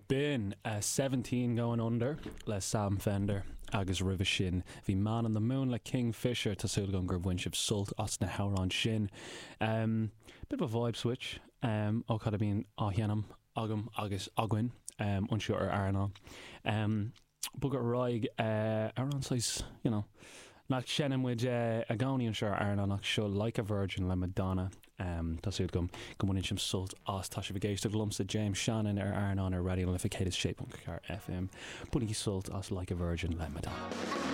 B'in 17 Going Under le Sam Fender agus roimhe sin bhí Man on the Moon le Kingfisher. Tá súil agam gur bhain sibh sult as na hamhráin sin. Bit of a vibe switch ó cad a bhíonn á sheinm agam agus againn anseo ar Airneán. Bogadh ar aghaidh, amhrán saghas, you know, nach seinneann muid i gcónaí anseo ar Airneán ach seo Like a Virgin le Madonna. Tá súil agam go mbaineann sibh sult as. Tá sibh ag éisteacht liomsa, James Shannon, ar Airneán ar Raidió na Life 106.4 FM. Bainigí sult as Like a Virgin le Madonna.